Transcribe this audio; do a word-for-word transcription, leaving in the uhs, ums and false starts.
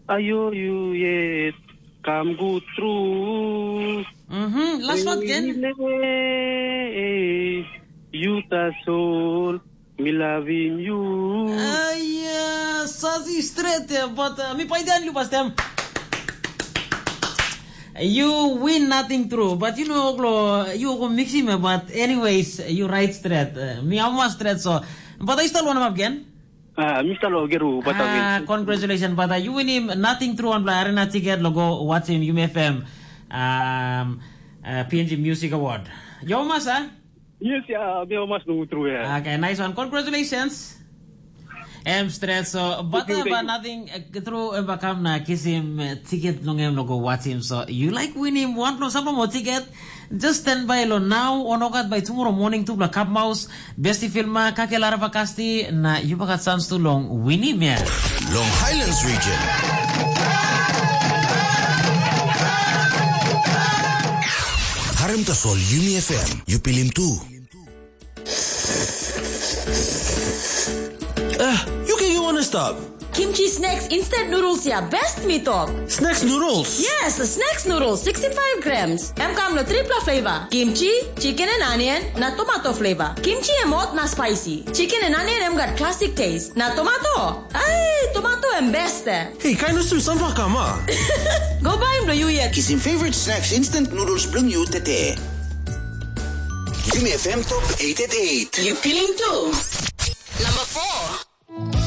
Ayo yu yet kam gut tru. Mhm, last one again. Yu tasol mi lavim yu. Aia, sasi stret ya, but uh, mi paidan lu pastem. You win nothing true, but you know, Oglo, you go mix him, but anyways, you right straight. Uh, mi almost straight, so. But I still want him again. Ah, Mister Logeru, but I Ah, win. Congratulations, but uh, you win him nothing true on Arena ticket, logo, watch him, Yumi F M, um, uh, P N G Music Award. Yo, masa? Yes, ya, mi mas nunggu tru ya. Okay, nice one. Congratulations. Em straight, so but Thank you, uh, but thank you. Nothing uh, true uh, bakam na kisim uh, ticket long em no go watch him. So you like win him one plus apa mo ticket? Just stand by lo now on ogat by tomorrow morning tu bla cup mouse besti filma kake lara vakasti na you bagat chance tu long win him ya. Long Highlands region. Harem tasol Yumi F M, you pilim tu. Ah, you can you wanna stop? Kimchi snacks instant noodles ya best mi tok. Snacks noodles. Yes, snacks noodles sixty-five grams. Em kam lo tripla flavor. Kimchi, chicken and onion, na tomato flavor. Kimchi em hot na spicy. Chicken and onion em gat classic taste. Na tomato. Ai, tomato em best. Hey, kind of some kama. Go buy him lo you yet. Kisim favorite snacks instant noodles bring you tete. Yumi F M top eight at eight. You feeling too? Number four.